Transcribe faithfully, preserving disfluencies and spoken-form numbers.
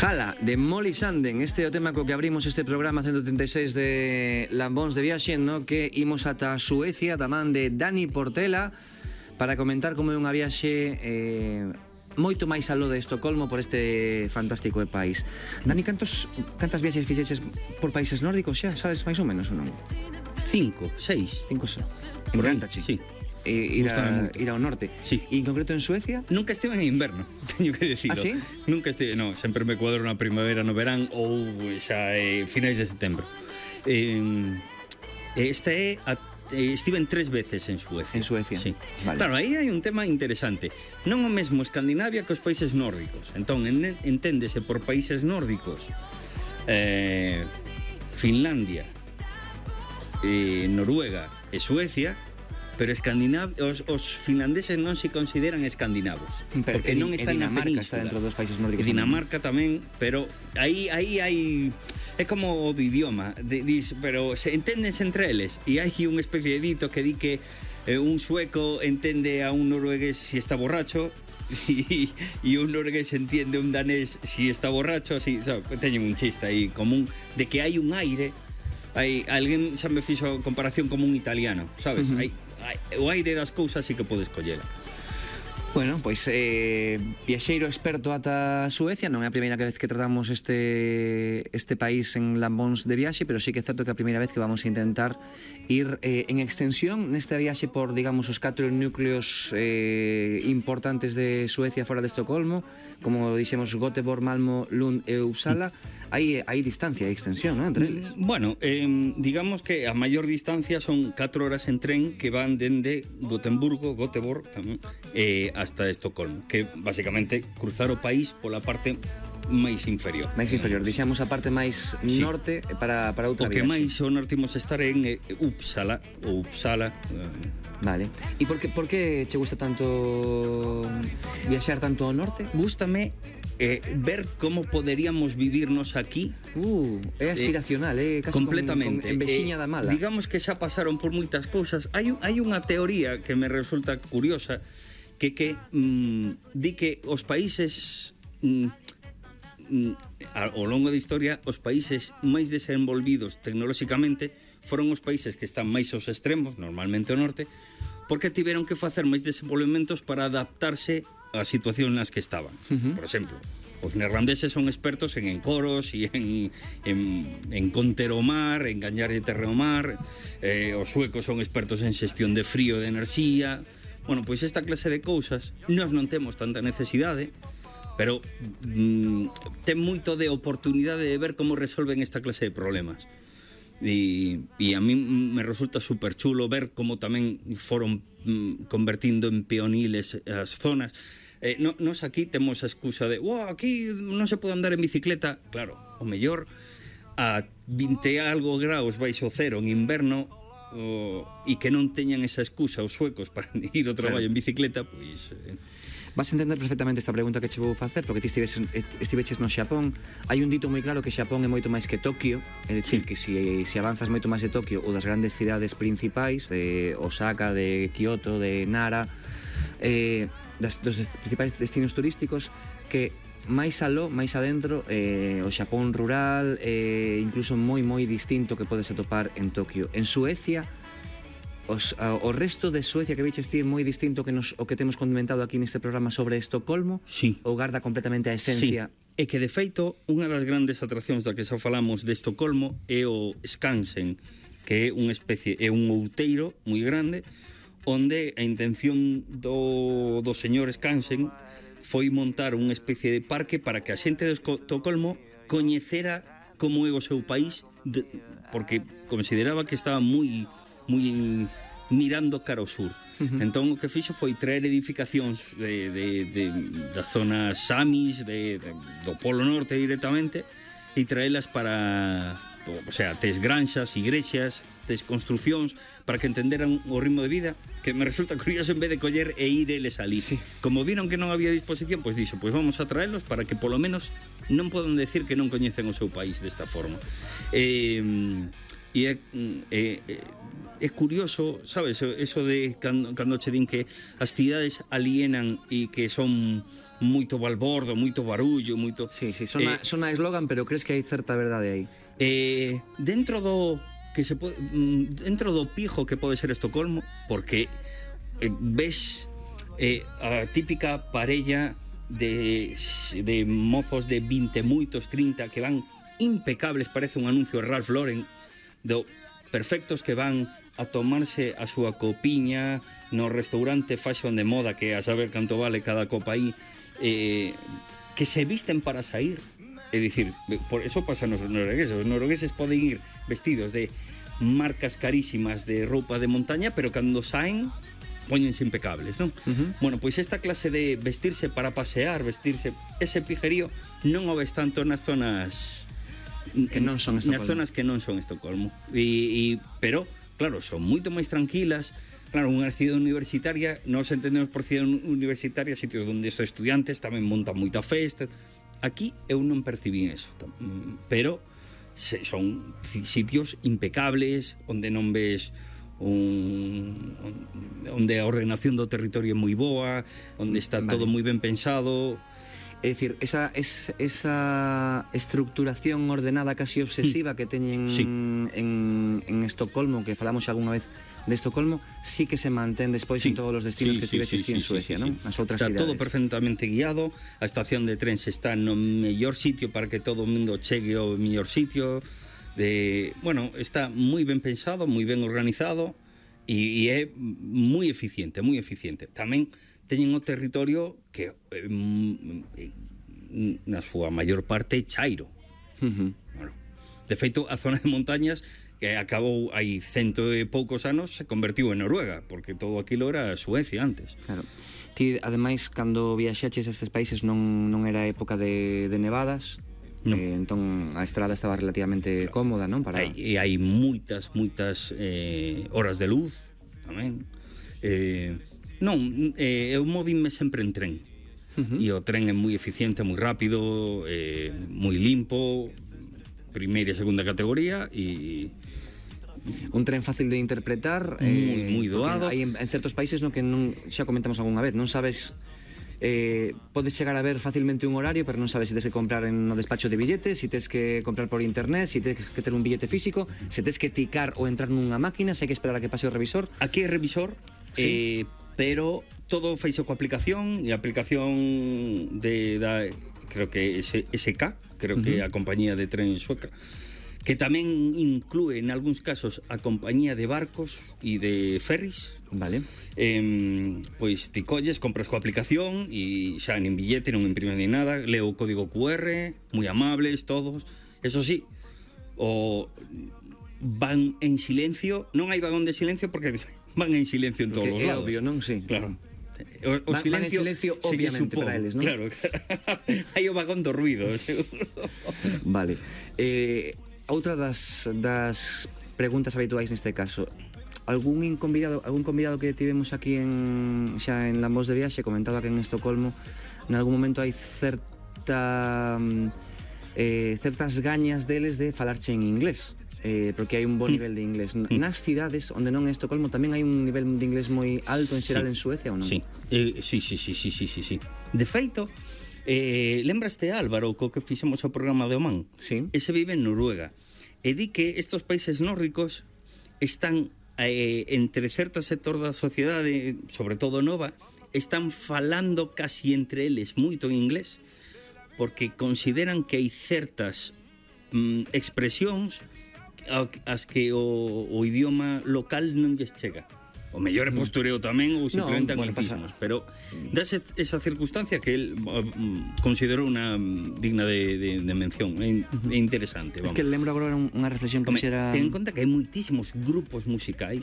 Jala, de Molly Sanden. Este é o tema co que abrimos este programa ciento treinta e seis de Lambóns de Viaxe, no que imos ata Suecia, da man de Dani Portela, para comentar como é unha viaxe eh, moito máis aló de Estocolmo por este fantástico país. Dani, cantos, cantas viaxes fixeches por países nórdicos xa? Sabes máis ou menos ou non? Cinco, seis. Cinco, seis. Encanta, sí. Eh, ir, a, ir ao norte. Sí. E en concreto en Suecia? Nunca estive en inverno, teño que dicilo. Ah, sí? Nunca estive, no, sempre me cuadro na primavera, no verán ou xa eh, finais de setembro. Eh, esta é a, eh, estiven tres veces en Suecia. En Suecia. Sí. Vale. Claro, aí hai un tema interesante. Non o mesmo Escandinavia que os países nórdicos. Entón, en, enténdese por países nórdicos eh, Finlandia, eh, Noruega e Suecia. Pero Escandinav os, os finlandeses non se consideran escandinavos, pero porque non están na Dinamarca península. está dentro dos países nórdicos. E Dinamarca tamén, pero aí aí hai é como o do idioma, de, dis, pero se enténdense entre eles e hai unha especie de dito que di que eh, un sueco entende a un noruegués si está borracho e, e un noruegués entiende un danés si está borracho, así, sabe, teñen un chiste aí común de que hai un aire. Hai alguén xa me fixo comparación como un italiano, sabes? Uh -huh. Hai o aire das cousas sí que podes collela. Bueno, pois eh, viaxeiro experto ata Suecia. Non é a primeira vez que tratamos este este país en Lambóns de Viaxe, pero sí que é certo que é a primeira vez que vamos a intentar ir eh, en extensión nesta viaxe por, digamos, os catro núcleos eh, importantes de Suecia fora de Estocolmo, como dixemos Göteborg, Malmo, Lund e Uppsala. Hai, hai distancia, hai extensión, non, entre eles? Bueno, eh, digamos que a maior distancia son catro horas en tren que van dende Gotemburgo, Göteborg tamén, eh, hasta Estocolmo, que basicamente cruzar o país pola parte máis inferior. Máis inferior, dixemos a parte máis sí. norte para, para outra viaxe. O que máis o norte imos estar en eh, Uppsala, ou Uppsala. Eh. Vale. E por que, por que che gusta tanto viaxar tanto ao norte? Gústame eh, ver como poderíamos vivirnos aquí. Uh, é aspiracional, é eh, casi completamente. Con, con envexiña eh, da mala. Digamos que xa pasaron por moitas cousas. Hai, hai unha teoría que me resulta curiosa, que que mm, di que os países mm, mm, ao longo da historia, os países máis desenvolvidos tecnolóxicamente foron os países que están máis aos extremos, normalmente ao norte, porque tiveron que facer máis desenvolvementos para adaptarse á situación nas que estaban. Uh-huh. Por exemplo, os neerlandeses son expertos en encoros e en, en, en conter o mar, en gañarlle terra ao mar, eh, os suecos son expertos en xestión de frío e de enerxía. Bueno, pois esta clase de cousas nós non temos tanta necesidade, pero mm, ten moito de oportunidade de ver como resolven esta clase de problemas. E, e a mí me resulta super chulo ver como tamén foron mm, convertindo en peoniles as zonas. Eh, no, nos aquí temos a excusa de wow, aquí non se pode andar en bicicleta. Claro, o mellor a vinte algo graus baixo cero en inverno o, e que non teñan esa excusa os suecos para ir ao traballo en bicicleta, pois... Eh, Vas a entender perfectamente esta pregunta que che vou facer, porque ti estives, estiveches no Xapón. Hai un dito moi claro que Xapón é moito máis que Tokio, é dicir, sí. que se si, si avanzas moito máis de Tokio ou das grandes cidades principais, de Osaka, de Kyoto, de Nara, eh, das, dos principais destinos turísticos, que máis aló, máis adentro, eh, o Xapón rural, eh, incluso moi moi distinto que podes atopar en Tokio. En Suecia, Os, o resto de Suecia que viches ti é moi distinto que nos, o que temos comentado aquí neste programa sobre Estocolmo? Sí. Ou garda completamente a esencia? Sí. E que de feito unha das grandes atraccións da que xa falamos de Estocolmo é o Skansen, que é unha especie, é un outeiro moi grande onde a intención do, do señor Skansen foi montar unha especie de parque para que a xente de Estocolmo coñecera como é o seu país, de, porque consideraba que estaba moi moi mirando cara ao sur. Uh-huh. Entón o que fixo foi traer edificacións de, de, de, das zonas samis de, de, do Polo Norte directamente e traelas para, o sea, tes granxas, igrexas, tes construcións para que entenderan o ritmo de vida, que me resulta curioso en vez de coller e ir eles ali. Sí. Como viron que non había disposición, pois dixo, pois vamos a traelos para que polo menos non podan decir que non coñecen o seu país desta forma. Eh, e é, é, é curioso, sabes, eso de cando, cando che din que as cidades alienan e que son moito balbordo, moito barullo, moito... Sí, sí, sona, eh, sona eslogan, pero crees que hai certa verdade aí? Eh, dentro do que se pode, dentro do pijo que pode ser Estocolmo, porque eh, ves eh, a típica parella de, de mozos de vinte moitos, trinta, que van impecables, parece un anuncio de Ralph Lauren, do perfectos, que van a tomarse a súa copiña no restaurante fashion de moda, que a saber canto vale cada copa aí, eh, que se visten para sair. É dicir, por eso pasa nos noruegueses. Os noruegueses poden ir vestidos de marcas carísimas de roupa de montaña, pero cando saen, póñense impecables, non? Uh-huh. Bueno, pois esta clase de vestirse para pasear, vestirse, ese pijerío non o ves tanto nas zonas que non son Estocolmo. Nas zonas que non son Estocolmo. E, e, pero, claro, son moito máis tranquilas. Claro, unha cidade universitaria, nós entendemos por cidade universitaria sitios onde os estudiantes tamén montan moita festa. Aquí eu non percibín eso, pero son sitios impecables, onde non ves un, onde a ordenación do territorio é moi boa, onde está vale. todo moi ben pensado. É dicir, esa, es, esa estructuración ordenada casi obsesiva que teñen sí. en, en Estocolmo, que falamos algunha vez de Estocolmo, sí que se mantén despois sí. en todos os destinos sí, que sí, tiveches sí, sí, en Suecia, sí, sí, non? As outras está cidades. Todo perfectamente guiado, a estación de tren está no mellor sitio para que todo o mundo chegue ao mellor sitio. De, bueno, está moi ben pensado, moi ben organizado e, e é moi eficiente, moi eficiente. Tamén teñen o territorio que eh, na súa maior parte chairo. Uh-huh. Bueno, de feito, a zona de montañas que acabou hai cento e poucos anos se convertiu en Noruega, porque todo aquilo era Suecia antes. Claro. Ti, ademais, cando viaxaches a estes países non, non era época de, de nevadas, no. eh, entón a estrada estaba relativamente claro. cómoda, non? Para... Hai, e hai moitas, moitas eh, horas de luz tamén. Eh, non, eh, eu movime sempre en tren. Uh-huh. E o tren é moi eficiente, moi rápido, eh, moi limpo, primeira e segunda categoría, e un tren fácil de interpretar, moi, eh, moi doado. Hai en, en certos países no que non, xa comentamos algunha vez, non sabes, eh, podes chegar a ver facilmente un horario, pero non sabes se si tens que comprar en no despacho de billetes, se si tens que comprar por internet, se si tens que ter un billete físico, se tens que ticar ou entrar nunha máquina, se hai que esperar a que pase o revisor. Aquí é revisor, sí. eh, pero todo feito coa aplicación, e a aplicación de da, creo que S K, creo uh-huh. que é a compañía de tren sueca, que tamén inclúe en algúns casos a compañía de barcos e de ferries. Vale. Eh, pois ti colles, compras coa aplicación e xa nin billete, non imprimes ni nada, leo o código Q R, moi amables todos. Eso sí, o van en silencio, non hai vagón de silencio porque van en silencio en todos os lados. É obvio, non? Sí. Claro. O, o van, silencio, van en silencio obviamente para eles, non? Claro. Hai o vagón do ruido, seguro. Vale. Eh, outra das, das preguntas habituais neste caso, algún convidado, algún convidado que tivemos aquí en xa en La Voz de Viaxe comentaba que en Estocolmo en algún momento hai certa eh, certas gañas deles de falarche en inglés. Eh, porque hai un bo nivel de inglés. Nas cidades onde non é Estocolmo tamén hai un nivel de inglés moi alto en xeral sí. en Suecia ou non? Sí. Eh, sí, sí, sí, sí, sí, sí. De feito, eh, lembraste Álvaro co que fixemos o programa de Oman? Sí. Ese vive en Noruega. E di que estos países nórdicos están eh, entre certo sector da sociedade, sobre todo nova, están falando casi entre eles moito en inglés, porque consideran que hai certas mm, expresións as que o, o idioma local non lles chega. O mellor é postureo tamén ou simplemente no, anglicismos, bueno, pero dase esa circunstancia que el um, considerou unha digna de, de, de mención, é, é interesante. Vamos. Es que lembro agora unha reflexión que Come, xera... Ten en conta que hai moitísimos grupos musicais